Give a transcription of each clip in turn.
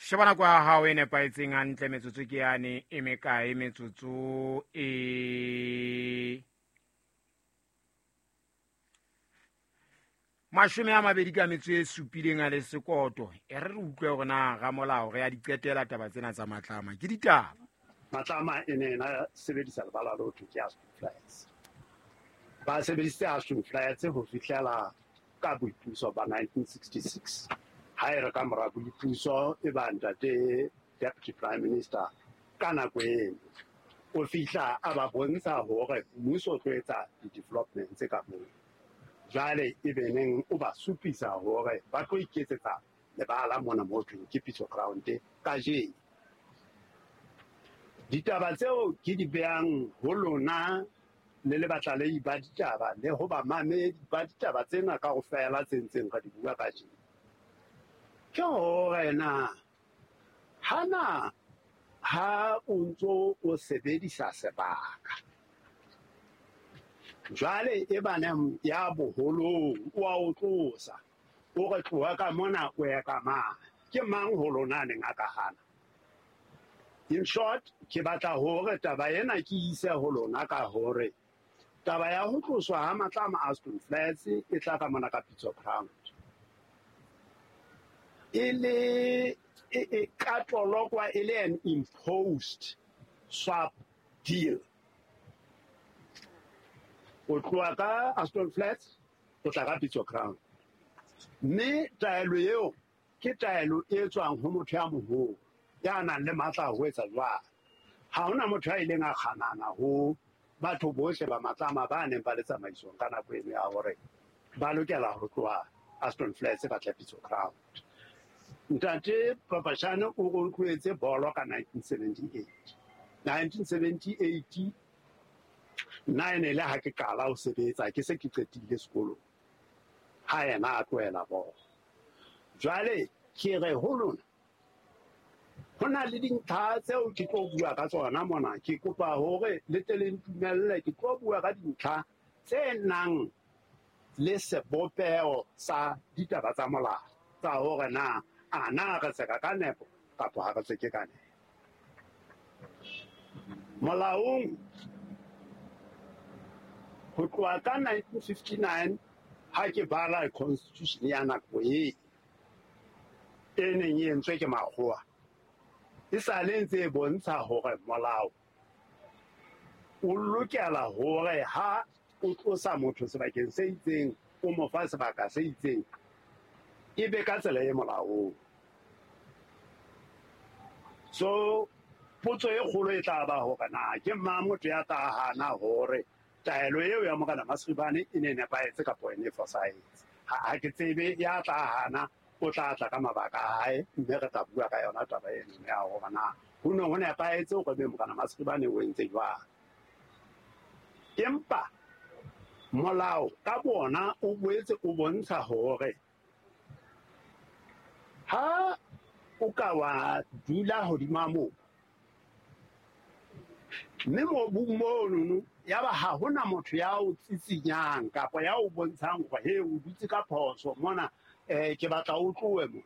Sheba nako ya hao e nepahetseng hantle, metsotso ke yane e mekae? Metsotso e 27 a le sekoto. E re re utlwe hore na ramolao re ya di qetela taba tsena tsa Matlama ke ditaba. Matlama e ne na sebedisa lebala le ho thwe ke Aston Flats. Ba sebedisitse Aston Flats ho fihlela ka boipuso ba 1966. Ha e re ka mora boipuso e ba ntate Deputy Prime Minister ka nako eno o fihla a ba bontsha hore mmuso o tlo etsa di-development tse ka moo. Jwale e be neng o ba supisa hore ba tlo iketsetsa lebala mona mo thweng ke Pitso Ground kajeno. Ditaba tseo ke di behang ho lona le le batlalehi ba ditaba le ho bamamedi ba ditaba tsena kaofela tse ntseng re di bua kajeno, ke hore na hana ha o ntso o sebedisa sebaka jwale e baneng ya boholong o a o tlosa, o re tloha ka mona o ye ka mane, ke mang ho lona a neng a ka hana? In short, ke batla hore taba ena ke ise ho lona ka hore taba ya ho tloswa ha Matlama Aston Flats e tla ka mona ka Pitso Ground e le e ka tolokwa e le an imposed swap deal. O tloha ka Aston Flats o tla ka Pitso Ground, mme taelo eo ke taelo e tswang ho motho ya moholo ya nang le matla a ho etsa jwalo. Ha hona motho ya ileng a kganana ho batho bohle ba Matlama ba neng ba le tsamaisong ka nako eno ya hore ba lokela ho tloha Aston Flats ba tle Pitso Ground. Ntate Papashane o re o tlohetse bolo ka 1978. 1978 nna e ne le ha ke qala ho sebetsa, ke se ke qetile sekolong ha yena a tlohela bolo. Jwale ke re ho lona, ho na le dintlha tseo ke tlo bua ka tsona mona. Ke kopa hore le tle le ntumelle, ke tlo bua ka dintlha tse nang le sebopeho sa ditaba tsa molao tsa hore na a na re tseka ka nepo kapa ha re tseke ka nepo. Molaong ho tloha ka 1959 ha ke bala constitution ya nako e e neng e entswe ke makgowa, e sale ntse e bontsha hore molao o lokela hore ha o tlosa motho sebakeng se itseng o mo fa sebaka se itseng, e be ka tsela e molaong. So potso e kgolo e tla ba hore na ke mang motho ya tla hana hore taelo eo ya Morena Masribane e ne nepahetse kapa e ne fosahetse. Ha ke tsebe ya tla hana, o tla tla ka mabaka a hae, mme re tla bua ka yona taba eno ya hore na ho ne ho nepahetse hore be Morena Masribane o entse jwang. Empa molao ka bona o boetse o bontsha hore ha o ka wa dula hodima mobu, mme mobung monono ya ba ha hona motho ya o tsitsinyang kapa ya o bontshang hore he o dutse ka phoso mona, ke batla o tlohe mona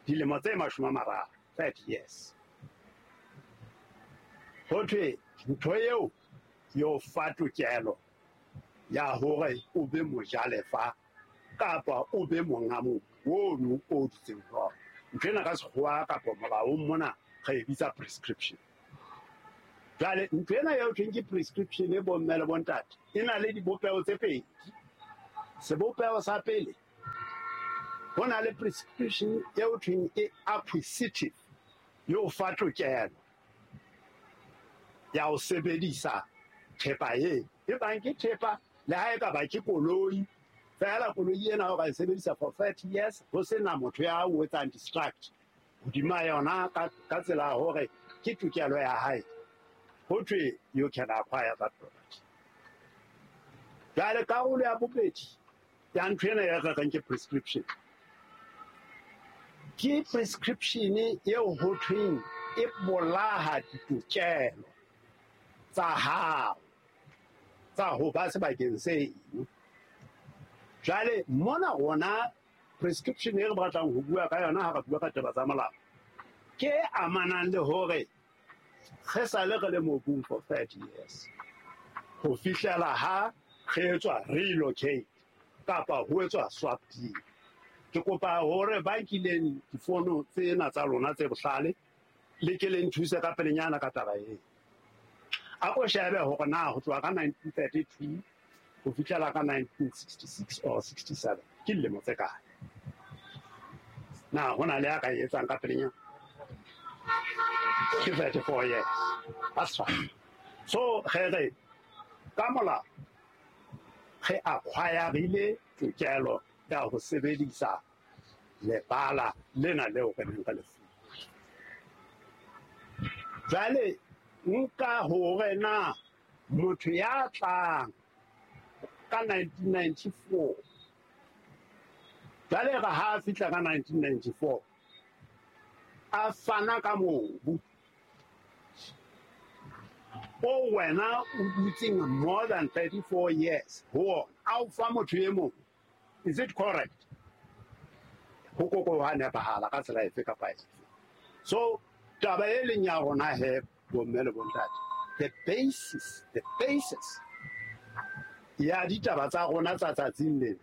dilemo tse 30, 30 years. Ho thwe ntho eo yo fa tokelo ya hore o be mojalefa kapa o be monga mobu ono o dutseng ho ona. Ntho ena ka sekgowa kapa molaong mona re e bitsa prescription. Jwale ntho ena eo thweng ke prescription e bomme le bontate e na le dibopeho tse pedi. Sebopeho sa pele, ho na le prescription eo thweng e acquisitive, yo fa tokelo ya ho sebedisa thepa e e bang ke thepa le ha e ka ba ke koloi fela. Koloi ena o ka e sebedisa for 30 years ho sena motho ya o etsang distract hodima yona ka tsela ya hore ke tokelo ya hae. Ho thwe you can acquire that property. Jwale karolo ya bobedi ya ntho ena e re reng ke prescription, ke prescription eo ho thweng e bolaha ditokelo tsa hao tsa ho ba sebakeng seno. Jwale mona rona Prescription e re batlang ho bua ka yona ha re bua ka taba tsa molao ke e amanang le hore re sale re le mobung for 30 years ho fihlela ha re etswa relocate kapa ho etswa swap deal. Ke kopa hore ba nkileng difono tsena tsa lona tse bohlale le ke le nthuse ka pelenyana ka taba ena. A ko shebe hore na ho tloha ka 1932 ho fihlela ka 1966 or 67 ke dilemo tse kae. Na ho na le ya ka e etsang ka pelenyana? Ke 34 years. That's fine. So re re ka molao re acquire-ile tokelo ya ho sebedisa lebala lena leo re neng re le fuwe. Jwale nka hore na motho ya tlang ka 1994, jwale re ha fihla ka 1994 a fana ka mobu o wena o dutseng more than 34 years ho ona, a o fa motho e mong, is it correct? Ho koko ha nepahala ka tsela efe kapa efe. So taba e leng ya rona he, bomme le bontate, the basis ya ditaba tsa rona tsa tsatsing lena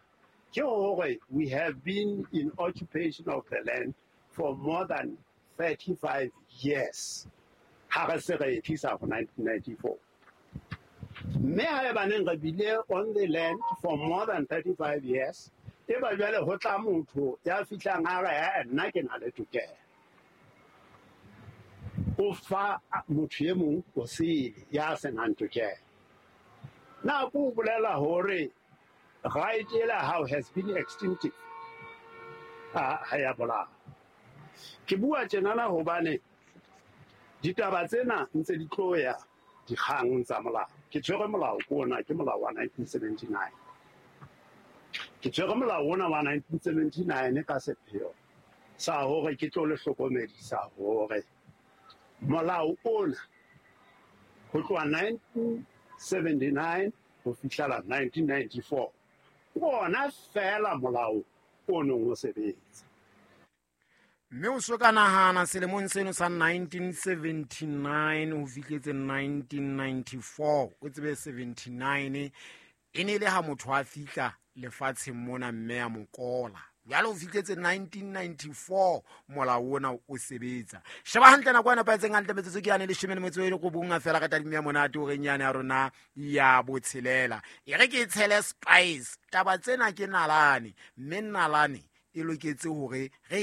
ke hore we have been in occupation of the land for more than 35 years ha re se re e tlisa ho 1994. Mme haebaneng re bile on the land for more than 35 years, e ba jwale ho tla motho ya fihlang a re, "Eh, nna ke na le tokelo," o fa motho e mong o sele ya senang tokelo. Na ko bolela hore right ela how has been extinctive ha ya bolao. Ke bua tjenana hobane ditaba tsena ntse di tlo ya dikgang tsa molao. Ke tshwere molao ke ona, ke molao wa 1979. Ke tshwere molao ona wa 1979 ka sepheo sa hore ke tlo le hlokomedisa hore molao ona ho tloha 1979 ho fihlela 1994 ke ona feela molao o neng o sebetsa. Mme o so ka nahana selemong seno sa 1979 ho fihletse 1994, o tsebe 79 e ne e le ha motho a fihla lefatsheng mona mme ya mokola. Jwale o fihletse 1994 molao ona o sebetsa. Sheba hantle nako e nepahetseng hantle, metsotso ke yane 19 fela ka tadimo ya monate o reng yane ya rona ya botshelela. E re ke tshele spice. Taba tsena ke nalane, mme nalane e loketse hore re